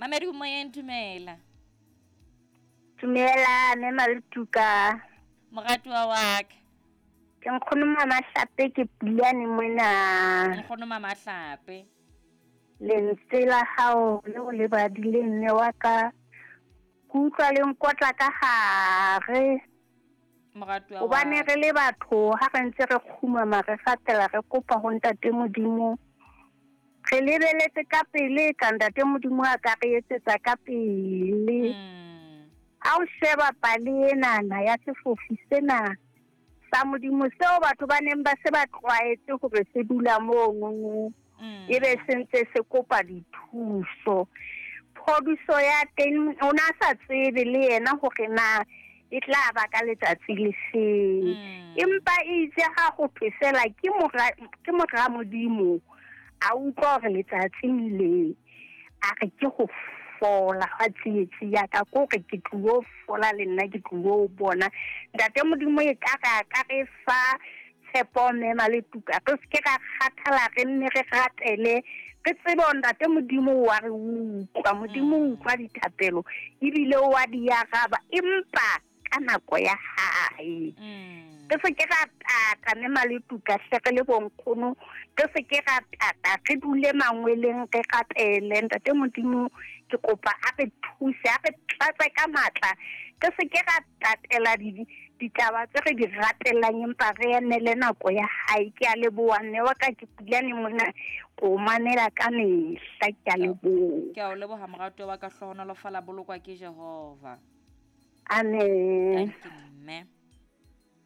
Mamedi o moyeng, dumela. Dumela mme Maletuka. Moratuwa wa ka. Ke nkgono Mamahlape ke Pulane mona. Nkgono Mamahlape. Lentswe la hao leo le badileng mme wa ka ke utlwa le nkotla ka gare. Moratuwa wa Hobane re le batho ha re ntse re kgumama re gatela re kopa ho ntate Modimo. Re lebeletse ka pele ka ntate Modimo a ka re etsetsa ka pele. Ha o sheba pale enana ya sefofi sena sa Modimo seo batho ba neng ba se ba tlwaetse hore se dula mono e be se ntse se kopa dithuso. Phodiso ya teng o na sa tsebe le yena hore na e tla ba ka letsatsi le feng. Empa e itse ha ho thwe fela ke mora ke mora Modimo a utlwa hore letsatsi le a re ke go fola ga tsietsi ya ka ko re ke tlilo fola le nna ke tlilo bona ntate Modimo e ka re ka re fa tshepo mme Maletuka re se ke ra kgathala re nne re rapele re tsebe hore ntate Modimo wa re utlwa Modimo o utlwa dithapelo ebile o wa di araba empa ka nako ya hae. Re se ke ra tata mme Maletuka hle re le bonkgono re se ke ra tata re dule mangweleng re rapele ntate Modimo ke kopa a re thuse a re tlatse ka matla re se ke ra tatela ditaba tse re di ratelang empa re emele nako ya hae. Ke a leboha mme wa ka ke Pulane mona ko mamela ka mehla ke a leboha. Ke a o leboha moratuwa wa ka hlohonolofala bolokwa ke Jehova. Amen. Thank you mme.